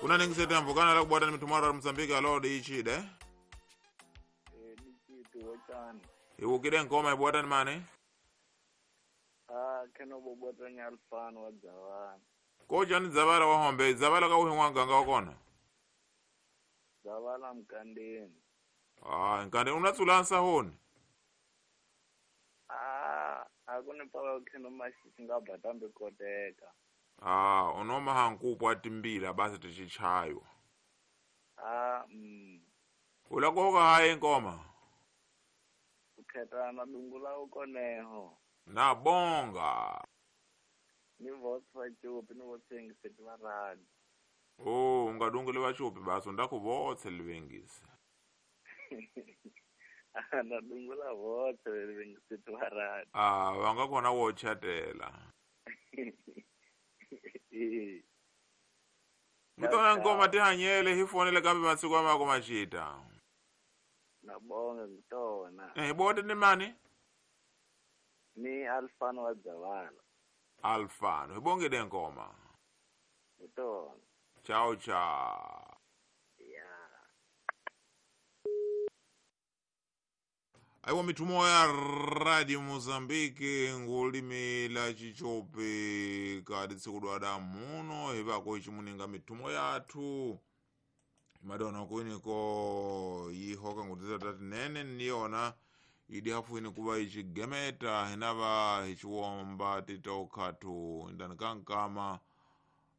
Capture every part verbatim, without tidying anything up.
Kuna ningisete mvukana la kubwata ni mitumaro ya Mozambique alo diichide. Eh ni chitu wachani. Iwukide nkoma ibwata ni mani? Ah keno bobwata ni alfano wa Dzavara. Koja ni Dzavara wa hombe, Dzavara ka uhi wanganga wakona. Dzavara mkandeni. Ah, nkande unatsulansa honi. Ah, akune paka keno mashi ngabhatambe koteka. Ah, unoma hankupo atimbila basi tichichayo. Ah, mm. Ulakoka hayi nkoma. Ukhetana dungula ukoneho. Na bonga. Ni votsa chupi ni votsengiseti varadi. Oh, ungadunguli vachupi basi ndakuvotse livengisi. Ndadungula votse livengiseti varadi. Ah, vangakona wochatela. Mutona nkoma tihanyele hifonele kambe masiku amako machita. Nabonga ngitona. Eh, bote ni mani? Ni Alfano wa Dzavara. Alfano, ibonge nkoma. Ngitona. Ciao ciao. Yeah. Aiwa mitumo ya Radio Mozambique ngulimi la chichope kadi tsikudwada muno hivako ichimuninga mitumo yathu madona kuiniko yihoka ngutiza tati nene niyona idi hafu ini kuva ichigemeta hinava ichiwomba titokhatu indani kankama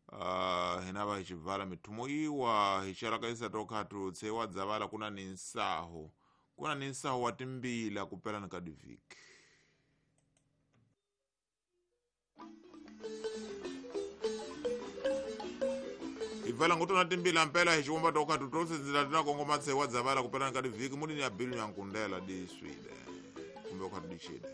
uh, hinava ichivala mitumo iwa icharakaisa tokhatu tsewa dzavala kuna ni nsaho kuna ni nsaho wa timbila kupela ni kadiviki. Ivala ngutona timbila mpela hichiwomba tokhatu tosinzila tinakongoma tsewa dzavala kupela ni kadiviki muni ni abilu nyankundela di swide kumbe ukhatu dichide.